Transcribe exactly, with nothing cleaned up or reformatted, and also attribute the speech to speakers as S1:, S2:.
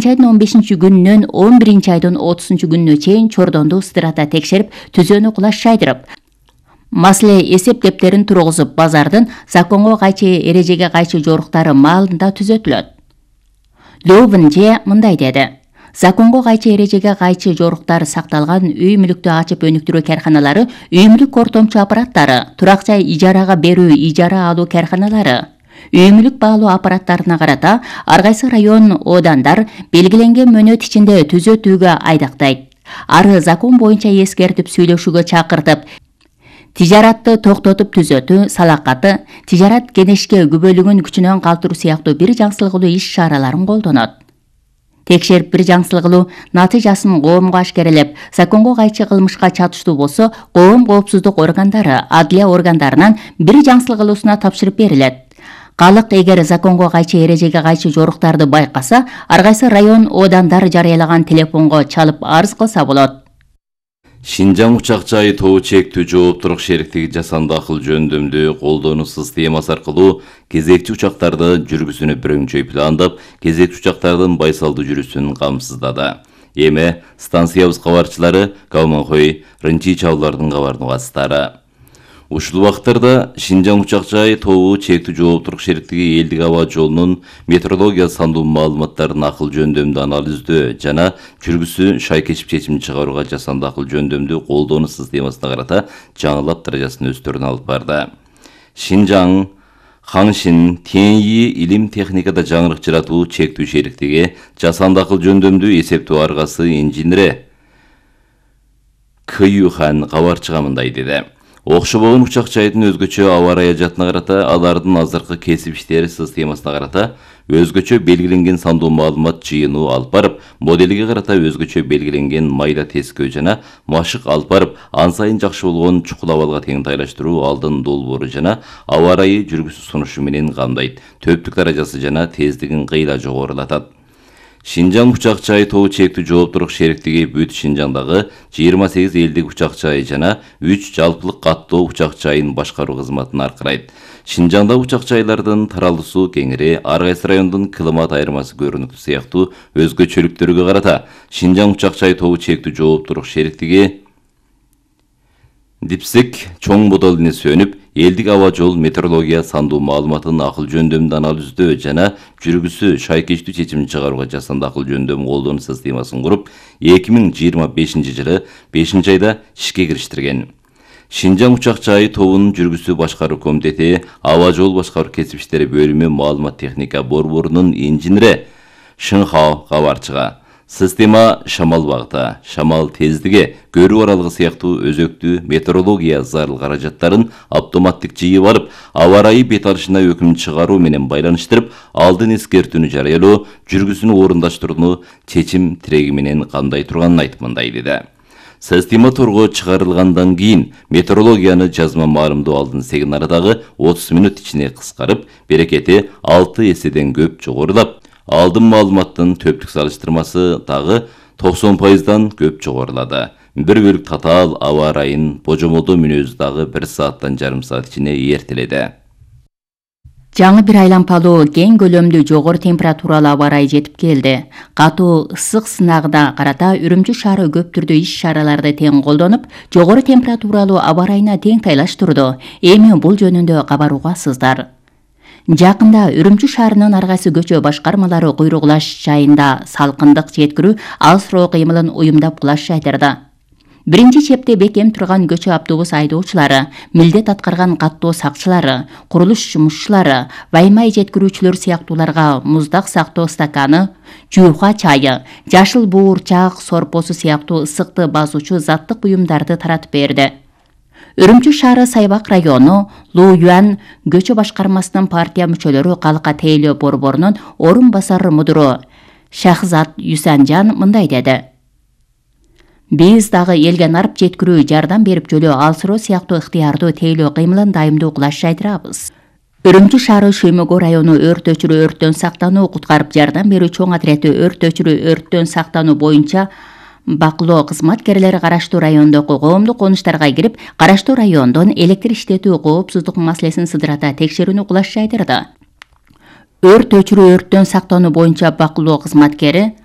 S1: тогузунчу айдын он бешинчи күнүнөн он биринчи айдын отузунчу күнүнө чейин Чордонду ыстырата текшерип, түзөөнү кулаш жайдырып, маселе эсеп кептерин тургузуп, базардын законго кайчы, эрежеге кайчы жоруктары маалында түзөтүлөт. Лёвенже мындай деди: законго кайчы, эрежеге кайчы жоруктар сакталган үй мүлүктү ачып өнүктүрүү карканалары, үй мүлүк ортомчу аппараттары, турак жай ижарага берүү, ижара алуу карканалары, үй мүлүк баалоо аппараттарына карата ар кайсы район одандар белгиленген мөөнөт ичинде түзөтүүгө айдактайт. Ары закон боюнча эскертип, сүйлөшүүгө чакыртып, тижаратты токтотуп түзөтүү, салакаты, тижарат кенешке күбөлүгүн күчүнөн калтыруу сыяктуу бир жаңсылыгылуу иш-чараларын колдонот. Текшерип бир жаңсылыгылуу натыйжасын коомго ашкерелеп, законго кайчы кылмышка чатыштуу болсо, коом коопсуздук органдары, адлия органдарынан бир жаңсылыгылуусуна тапшырып берилет. Калык эгер законго кайчы, эрежеге кайчы жоруктарды байкаса, ар кайсы район одандар жарыялаган телефонго чалып арыз кылса болот.
S2: Шинжаң учак жайы тобу чектүү жооптурук шериктиги жасанды акыл жөндөмдүү колдонуу системасы аркылуу кезекчи учактарды жүргүзүүнү бирөңчөй пландап, кезекчи учактардын байсалдуу жүрүүсүн камсыздады. Эми станциябыз кабарчылары Калманкой, Рынчи чабуулардын кабар нугастары. Ушул убакыттарда Шинжаң учак жайы тобу чектүү жооптурук шериктиги элдик аба жолунун метрология сандуу маалыматтарын акыл жөндөмдүү анализдөө жана жүргүзүү шайкечип чечим чыгарууга жасанды акыл жөндөмдүү колдонуу системасына карата жаңылап даражасын өстөрүнө алып барды. Шинжаң Хаңшин Теньи илим техникада жаңырык жаратуу чектүү шериктиги жасанды акыл жөндөмдүү эсептөө аргасы инженери Кыюхан кабарчыга мындай деди: окшобогон учак жайдын өзгөчө аба ырайы карата, алардын азыркы кесип иштери системасына карата өзгөчө белгиленген сандуу маалымат жыйынуу алып барып, моделге карата өзгөчө белгиленген майда тескөө жана машык алып барып, ан сайын жакшы болгон чукул абалга теңтайлаштыруу алдын долбоору жана аба ырайы жүргүзүү сунушу менен камдайт, төптүк даражасы жана тездигин кыйла жогорулатат. Шинжаң учак жайы тобу чектүү жооптурук шериктиги бүт Шинжаңдагы жыйырма сегиз элдик учак жай жана үч жалпылык каттоо учак жайын башкаруу кызматын аркырайт. Шинжаңда учак жайлардын таралуусу кеңири, ар кайсы райондун климат айырмасы көрүнүктүү сыяктуу өзгөчөлүктөргө карата Шинжаң учак жайы тобу чектүү жооптурук шериктиги Дипсик чоң модулуна сүйөнүп, элдик аба жол метеорология сандуу маалыматын акыл жөндөмдүү анализдөө жана жүргүзүү шайкечтүү чечим чыгарууга жасанды акыл жөндөм колдонуу системасын куруп, эки миң жыйырма бешинчи жылы бешинчи айда ишке кириштирген. Шинжаң учак жайы тобунун жүргүзүү башкаруу комитети аба жол башкаруу кесип иштери бөлүмү маалымат техника борборунун инженери Шыңхао кабарчыга система шамал багыты, шамал тездиги, көрүү аралыгы сыяктуу өзөктүү метеорология зарыл каражаттарын автоматтык жыйып алып, аба ырайы бет алышына өкүм чыгаруу менен байланыштырып, алдын эскертүүнү жарыялоо, жүргүзүүнү орундаштырууну чечим тиреги менен камдай турганын айтып мындай деди: система торго чыгарылгандан кийин метеорологияны жазма маалымдоо алдын сигналдагы отуз мүнөт ичине кыскарып, берекети алты эседен көп жогорулап, алдын маалыматтын төптүк салыштырмасы дагы токсон пайыздан көп жогорулады. Бир бөлүк татаал аба ырайын божомолдоо мүнөзү дагы бир сааттан жарым саат ичине эртеледи.
S1: Жаңы бир айлампалуу кең көлөмдүү жогору температуралуу аба ырайы жетип келди. Катуу ысык сынагына карата Үрүмчү шаары көп түрдүү иш-чараларды тең колдонуп, жогору температуралуу аба ырайына тең тайлаштырды. Эми бул жөнүндө кабар угасыздар. Жакында Үрүмчү шаарынын ар кайсы көчө башкармалары куйругулаш жайында салкындык жеткирүү, алыс-роо кыймылын уюмдап кулаш жайдырды. Биринчи чепте бекем турган көчө автобус айдоочулары, милдет аткарган каттоо сакчылары, курулуш жумушчулары, ваймай жеткирүүчүлөр сыяктууларга муздак сактоо стаканы, жууха чайы, жашыл буурчак сорпосу сыяктуу ысыкты басуучу заттык буюмдарды таратып берди. Үрүмчү шаары Сайбак району Лууюан көчө башкармасынын партия мүчөлөрү калка тейлөө борборунун орун басары мудуру Шахзат Юсанжан мындай деди: Биз дагы элге нарып жеткирүү, жардам берип жөлөө алсыроо сыяктуу ыктыярдуу тейлөө кыймылын дайымдуу кылаш жайдырабыз. Үрүмчү шаары Шөймөгө району өрт өчүрүү, өрттөн сактануу, куткарып жардам берүү чоң отрети өрт өчүрүү, өрттөн сактануу боюнча бакылоо кызматкерлери караштуу райондогу коомдук конуштарга кирип, караштуу райондон электр иштетүү коопсуздук маселесин сыдырата текшерүүнү кулаш жайдырды. Өрт өчүрүү, өрттөн сактануу боюнча бакылоо кызматкери